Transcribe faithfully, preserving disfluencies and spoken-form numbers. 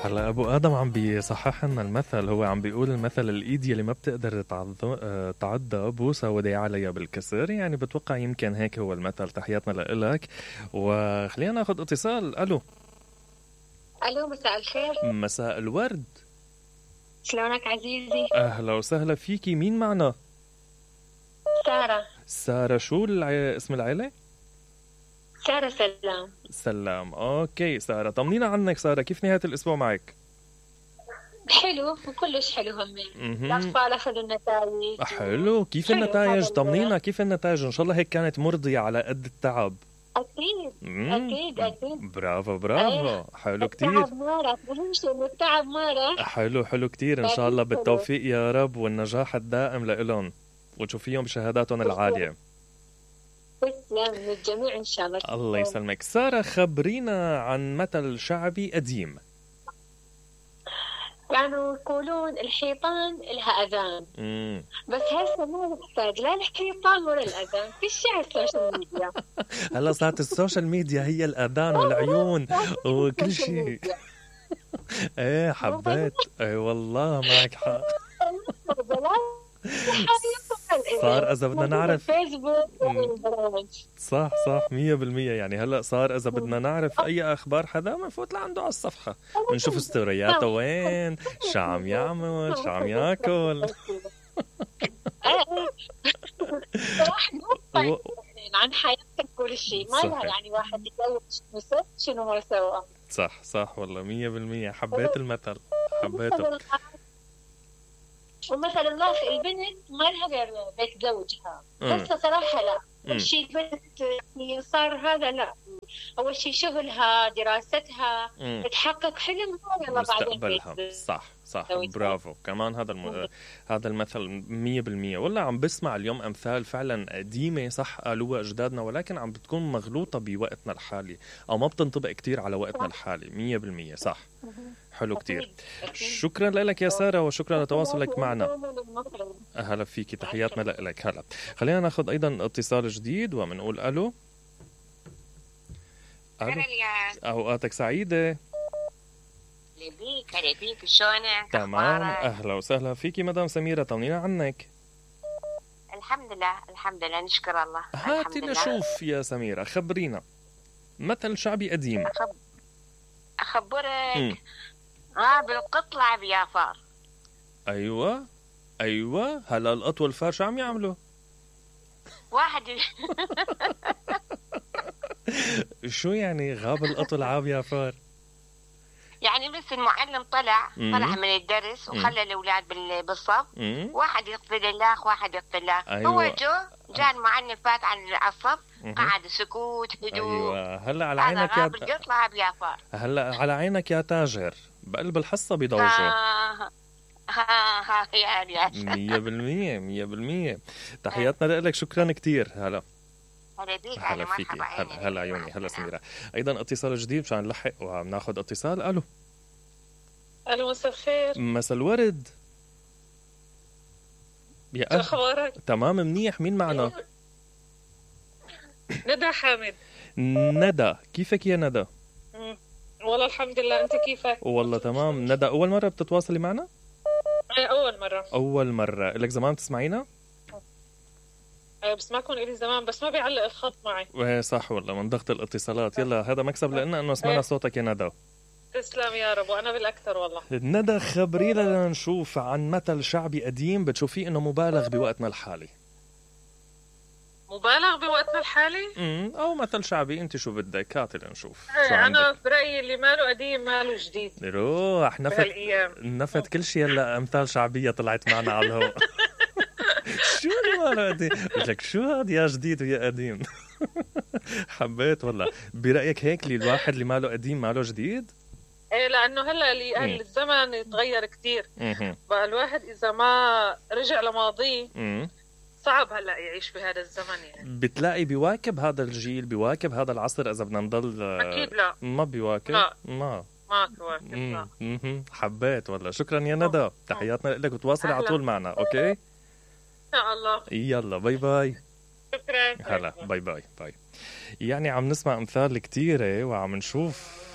هلا ابو ادم عم بيصحح لنا المثل. هو عم بيقول المثل الايد يلي ما بتقدر تعض- آه، تعضها بوسه وداعي عليها بالكسر. يعني بتوقع يمكن هيك هو المثل. تحياتنا لإلك وخلينا ناخذ اتصال. الو. الو، مساء الخير. مساء الورد. شلونك عزيزي؟ اهلا وسهلا فيكي. مين معنا؟ سارة. سارة. شو الع... اسم العيلة؟ سارة سلام. سلام. اوكي سارة، طمنينا عنك. سارة، كيف نهاية الاسبوع معك؟ حلو وكلش حلو همين. مهم. الأطفال أخذوا النتائج. حلو. كيف حلو النتائج؟ هذا ال- طمنينا كيف النتائج. ان شاء الله هيك كانت مرضية على قد التعب. أكيد مم. أكيد أكيد. برافو برافو. إيه. حلو كتير. التعب ما راح، أهم شيء إنه التعب ما راح. حلو حلو كتير. ان شاء الله حلو. بالتوفيق يا رب والنجاح الدائم لإلهم وتشوفيهم بشهاداتهم العالية. تسلم للجميع إن شاء الله. الله يسلمك. سارة، خبرينا عن مثل شعبي قديم. كانوا يقولون الحيطان لها أذان، مم. بس هسه ما نحتاج لا الحيطان ولا الأذان، في شيء على السوشيال ميديا. هلا صارت السوشيال ميديا هي الأذان والعيون وكل شيء. ايه حبيت. ايه والله معك حق. صار إذا بدنا نعرف. فيسبوك. صح صح مية بالمية. يعني هلأ صار إذا بدنا نعرف أي أخبار حدا بنفوت لعنده على الصفحة بنشوف ستورياته وين، شو عم يعمل، شو عم ياكل. راح نوصل عن حياتك كل شيء، ما لها يعني واحد يتزوج ست شنو ما سوى. صح صح والله مية بالمية. حبيت المثل، حبيته. ومثلا الله البنت ما لها غير بيت زوجها، بس صراحة لا. أول شيء بنت يعني صار هذا لا، أول شيء شغلها، دراستها، مم. تحقق حلمها، يلا بعدين مستقبلها. بيت. صح صح زوجها. برافو. كمان هذا الم... هذا المثل مية بالمية. والله عم بسمع اليوم أمثال فعلا قديمة صح قالوها أجدادنا، ولكن عم بتكون مغلوطة بوقتنا الحالي أو ما بتنطبق كتير على وقتنا الحالي. مية بالمية صح. حلو كتير. شكرا لك يا سارة وشكرا لتواصلك معنا. أهلا فيكي. تحياتنا لك. هلا خلينا ناخذ أيضا اتصال جديد ومنقول ألو. ألو. أوقاتك سعيدة. لبيك لبيك شلونك؟ تمام. أخبارك؟ أهلا وسهلا فيكي مدام سميرة. طمنينا عنك. الحمد لله الحمد لله نشكر الله. هاتي الحمد لله. نشوف يا سميرة، خبرينا مثل شعبي قديم. أخب... أخبرك. مم. اه بالقطلع بيافار. أيوة أيوة. هلا القط والفار شو عم يعملوا؟ واحد شو يعني غاب القط والعاب يا فار؟ يعني بس المعلم طلع مم. طلع من الدرس وخلى الأولاد بال... بالصف. مم. واحد يقتل الله واحد يقتل الله. أيوة. هو جو جاء المعلم فات عن الصف. مم. قعد سكوت هدوء. أيوة. هلا على هذا عينك يا غاب القطلع بيافار. هلا على عينك يا تاجر. بقلب الحصة بيضوجوا. ها ها ها يا رياش. مية بالمية مية بالمية. تحياتنا لك. شكرا كتير. هلا هلا بيك. هلا فيكي. هلا هلا عيوني. هلا سميرة. أيضا اتصال جديد مشان نلحق وبناخذ اتصال. ألو. ألو مساء الخير. مساء الورد. يا شو أهل. أخبارك؟ تمام منيح. مين معنا؟ ندى حامد. ندى. كيفك يا ندى؟ مم. والله الحمد لله، أنت كيفك؟ والله تمام. ندى، أول مرة بتتواصلي معنا؟ أنا أول مرة. أول مرة. لك زمان تسمعينا؟ أه بسمعكم إلي زمان بس ما بيعلق الخط معي. ايه صح والله من ضغط الاتصالات. يلا هذا مكسب لنا انه سمعنا صوتك يا ندى. تسلم يا رب، وأنا بالأكثر والله. ندى، خبرينا نشوف عن مثل شعبي قديم بتشوفيه انه مبالغ بوقتنا الحالي. مبالغ بوقتنا الحالي؟ امم او مثل شعبي انت شو بدك. هاتي لنشوف. شو ايه أنا عندك؟ برأيي اللي ماله قديم ماله جديد روح نفت بهالأيام. نفت كل شيء. هلا امثال شعبيه طلعت معنا على الهواء. شو اللي ماله قديم؟ قلت لك شو هاد يا جديد ويا قديم. حبيت والله. برايك هيك اللي الواحد اللي ماله قديم ماله جديد؟ ايه لأنه هلا اللي مم. هلا الزمن يتغير كتير. اها بقى الواحد إذا ما رجع لماضيه امم صعب هلا يعيش بهذا الزمن يعني. بتلاقي بيواكب هذا الجيل، بيواكب هذا العصر اذا بدنا نضل. أكيد لا. ما بيواكب. لا. ما ما تواكب لا. مم. مم. حبيت والله. شكرا يا ندى. تحياتنا لك وتواصلي على طول معنا. اوكي إن شاء الله. يلا باي باي. شكرا. هلا باي باي باي. يعني عم نسمع امثال كتيرة وعم نشوف